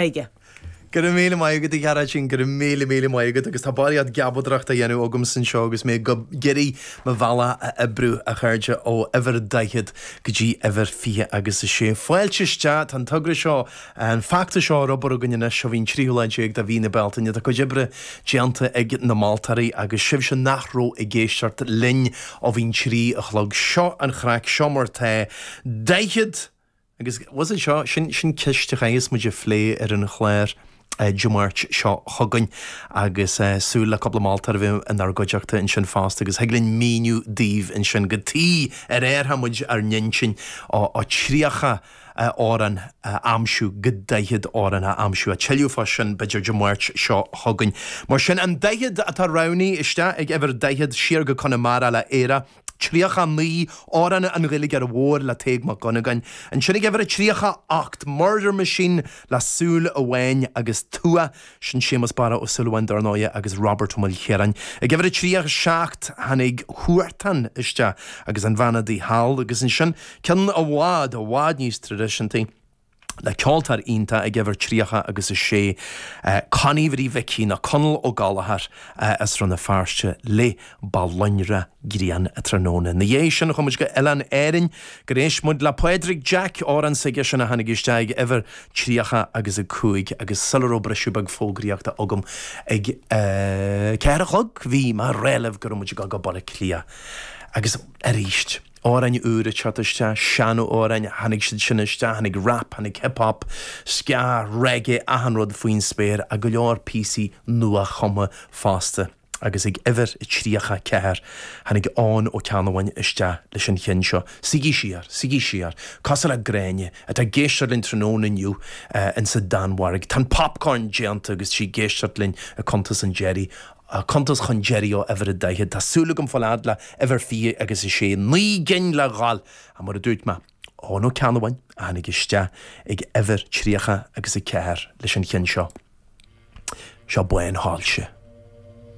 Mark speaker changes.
Speaker 1: Aige.
Speaker 2: Go raibh míle maith agat, a Ghearóidín, go raibh míle, míle maith agat agus tá barraíocht geapadóireachta á dhéanamh agamsa anseo agus mé ag iarraidh mo bhealach a oibriú, a chairde, ó uimhir 40 go dtí uimhir 26. Fáilte isteach, tá an togra seo, an feachtas seo ar obair againn anois ó bhí an tríú lá déag de mhí na Bealtaine. Tá cuid oibre déanta ag na moltóirí agus sibhse nach raibh ag éisteacht linn ó bhí an 3 a chlog. Seo an chraic, seo mar tá. 40! Agus bhfuil fhios a'd seo, sin, sin ceist a chaithfeas muid a phlé ar an chlár Dé Máirt seo chugainn agus súil le cúpla moltóir a bheith inár gcuideachta ansin fosta agus thig linn míniú daoibh ansin cad chuige ar athraigh muid ár n-intinn ó 30 amhrán a aimsiú go 40 amhrán a aimsiú. Ach tuilleadh fá sin b'fhéidir Dé Máirt seo chugainn. Mar sin, an 40 atá roghnaithe isteach ag uimhir 40 siar go Conamara le Éire. 39, Amhrán an Ghaeilgeora Mhóir le Tadhg Mac Dhonnagáin. Ansin ag uimhir a 38, Murder Machine le Súil Amháin agus Tua, sin Séamus Barra Ó Súilleabháin dar ndóighe agus Robert Ó Maoilchiaráin. Ag uimhir a 37, tháinig Huartan isteach agus An Bhean Adaí Thall agus ansin ceann i bhfad, i bhfad níos traidisiúntaí, le ceoltóir iontach ag uimhir 30 agus 6, Connie Mhary Mhicí nó Conall Ó Gallchóir as Rann na Feirste le Ba Lonradh Grian an Tráthnóna. Ina dhiaidh sin chuaigh muid go Oileán Árainn gur éist muid le Pádraig Jack, amhrán s'aigesean a tháinig isteach ag uimhir 30 agus 5 agus sula raibh briseadh beag fógraíochta agam ag 4 a chlog bhí mé ag rá libh go raibh muid ag dul go Baile Átha Cliath agus arís. Amhráin úra ag teacht isteach, sean-amhráin, tháinig siad sin isteach, tháinig rap, tháinig hip hop, ska, reggae, achan rud faoin spéir ach go leor píosaí nua-chumtha fosta. Agus ag uimhir 34, tháinig Eoin Ó Ceannabháin isteach leis an cheann seo, Suígí siar, suígí siar, cosúil le Gráinne, atá ag éisteacht linn tráthnóna inniu insa Danmhairg. Tá an popcorn déanta agus tá sí ag éisteacht linn ag cuntas an deiridh. Cuntas chun deiridh ó uimhir a 40. Tá súil agam fáil fhad le uimhir 20 agus 6. 9 gcinn le dhul! Ach mar a dúirt mé, Eoin Ó Ceannabháin a tháinig isteach ag uimhir 30 agus 4 leis an cheann seo. Seo Bánshoilse.